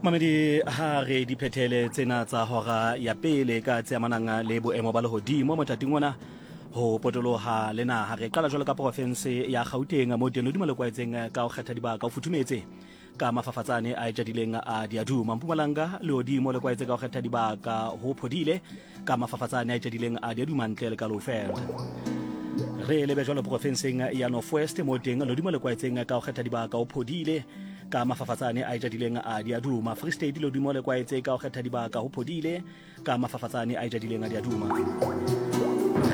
Mamedi ha re di phethele tsena tsa hora ya pele ka tse amanang le boemo ba lehodimo mothating ona ho potoloha le naha. Re qala jwalo ka porofense ya Gauteng mo teng lehodimo le kwaetseng ka ho kgetha dibaka o futhumetse ka mafafatsane a etjadileng a diaduma. Mpumalanga lehodimo le kwaetse ka ho kgetha dibaka ho phodile ka mafafatsane a etjadileng a diaduma ntle le ka Lowveld. Re lebe jwalo porofenseng ya North West mo teng lehodimo le kwaetseng ka ho kgetha dibaka o phodile ka mafafatsane a ejadileng a diaduma. Free State lodimo le kwaetse ka go kgetha dibaka ho phodile ka mafafatsane a ejadileng a diaduma.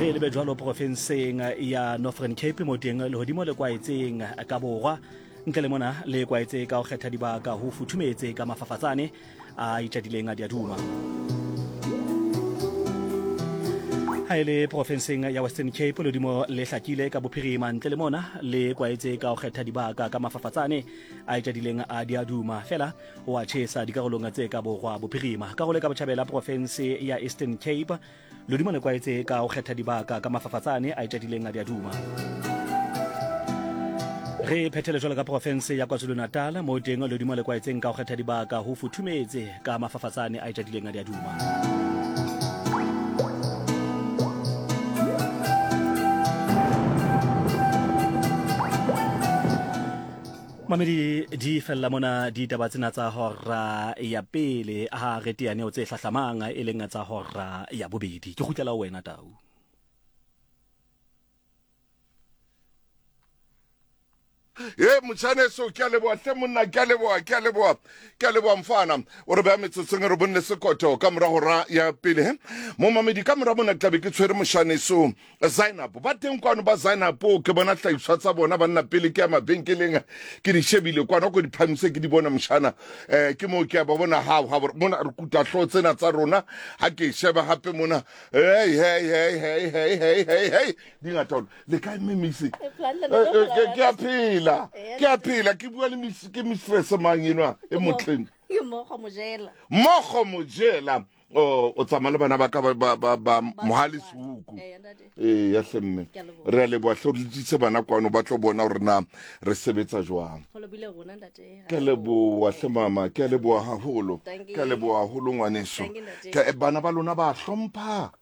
Re lebe jwalo porofenseng ya Northern Cape mo teng lehodimo le kwaetseng ka borwa ntle le mona le kwaetse ka go kgetha dibaka ho futhumetse ka mafafatsane a itšadileng a diaduma. Ha e le porofenseng ya Western Cape lodimo le hlakile ka bophirima ntle le mona le kwaetse ka go kgetha dibaka ka mafafatsane a itšadileng a diaduma fela o a tšhesa dikarolong tse ka borwa bophirima. Karolo e ka botjhabela porofense ya Eastern Cape Lodimo le kwaetse ka go kgetha dibaka ka mafafatsane a etšadileng a diaduma. Re phethele jwalo ka porofense ya KwaZulu-Natal mo teng lodimo le kwaetseng ka go kgetha dibaka ho futhumetse ka mafafatsane a etšadileng a diaduma. Mamedi di fella mona ditaba tsena tsa hora ya pele ha re teaneo tse hlahlamang e leng tsa hora ya bobedi. Ke kgutlela ho wena Tau. Ye motšhaneso, ke a leboa hle monna, ke a leboa, ke a leboa, ke a leboa mfana. O re beya metsotsong e re bonne sekoto ka mora hora ya pele. He momamedi, ka mora mona ke tlabe ke tshwere mošaneso Zainab. Ba teng kwano ba Zainab, ke bona hlahiswa tsa bona banna pele ke ya mabenkeleng ke di shebile kwano ko di phamise ke di bona moshana. Ke moo ke ya ba bona hao ha mona re kuta hlooho tsena tsa rona ha ke sheba hape mona. Hey hey hey hey hey hey hey hey di ngata haholo. Le kae mme Missy? Ke a phela. Ke a phela ke bua le Miss ke mistress mang enwa e motleng. Ke Mmogo Mojela. Mmogo Mojela. O o tsamaya le bana ba ka ba ba ba, ba mohale seuku. Ee ya hle mme. Re a leboha hle o letsitse bana kwano ba tlo bona hore na re sebetsa jwang. Ke a leboha hle mama, ke a leboha haholo. Ke a leboha haholo ngwaneso. Ke bana ba lona ba hlompha.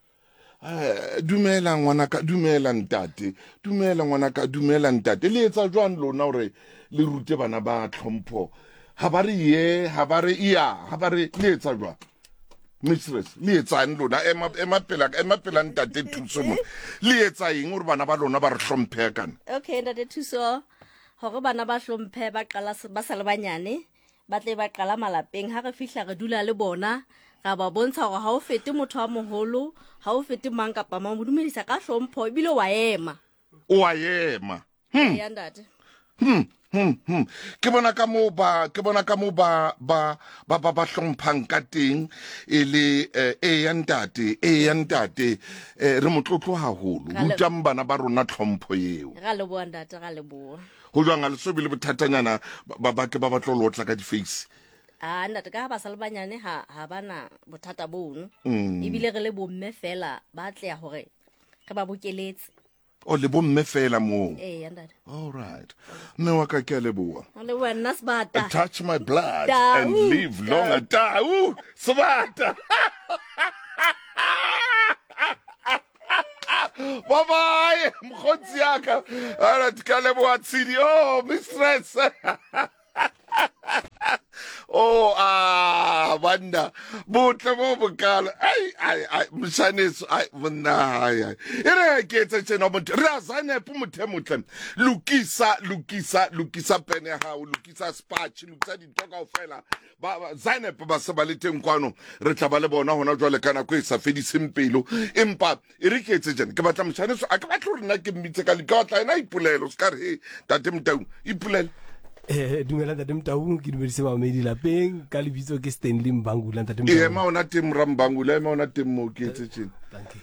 Eh, dumela ngwanaka, dumela ntate, dumela ngwanaka, dumela ntate. Le etsa jwang lona hore le rute bana ba tlhompho? Ha ba re ye, ha ba re iya, ha ba re le etsa jwang? Mistress, le etsang lona? Ema, ema pela, ema pela ntate Thuso mo. Le etsa eng hore bana ba lona ba re hlomphe kana? Okay, ntate Thuso, hore bana ba hlomphe ba qala ba sa le banyane, ba tle ba qala malapeng ha re fihla re dula le bona ra ba bontsha gore ga o fete motho wa mogolo ga o fete mang kapa mang mo dumedisa ka hlompho ebile wa ema o a ema ya ntate Ke bona ka moo ba ke bona ka moo ba ba ba ba ba hlomphang ka teng e le e ya ntate e ya ntate re motlotlo haholo rutang bana ba rona tlhompho eo ra leboa ntate ra leboa Go jwang a le so be le bothatanyana ba ba ke ba ba tlo lotla ka di-face? A ntate ka ha ba sa le banyane ha ha bana bothata bono. Ebile re le bomme fela ba tleya hore re ba bokeletse. O le bomme fela moo. Ee ntate. All right. Mme wa ka ke a leboa. O leboa nna sebata. Touch my blood and live longer. Tau sebata. Bye bye, mokgotsi ya ka. Alright, ka leboa Tshidi. Oh, mistress. Oh, ah, banna. Botle bo bokalo. Ai, ai, ai, moshaneso, ai, monna, ai, ai. E re ke etse tjena motho. Re a Zainab motho e motle. Lokisa, lokisa, lokisa pene ya hao, lokisa spatch, lokisa dintho kaofela. Ba, ba, Zainab ba se ba le teng kwano. Re tla ba le bona hona jwale ka nako e sa fediseng pelo. Empa e re ke etse tjena. Ke batla moshaneso, a ke batle hore nna ke mmitse ka ke batla yena a ipolele. O se ka re, he, Ntate Motau, ipolele. Eh, dumela Ntate Motau, ke dumedise bamamedi lapeng. Ka lebitso ke Stanley Mbangula, Ntate Motau. Ema ona teng, mora Mbangula, ema ona teng moo ke etse tjena. Thank you.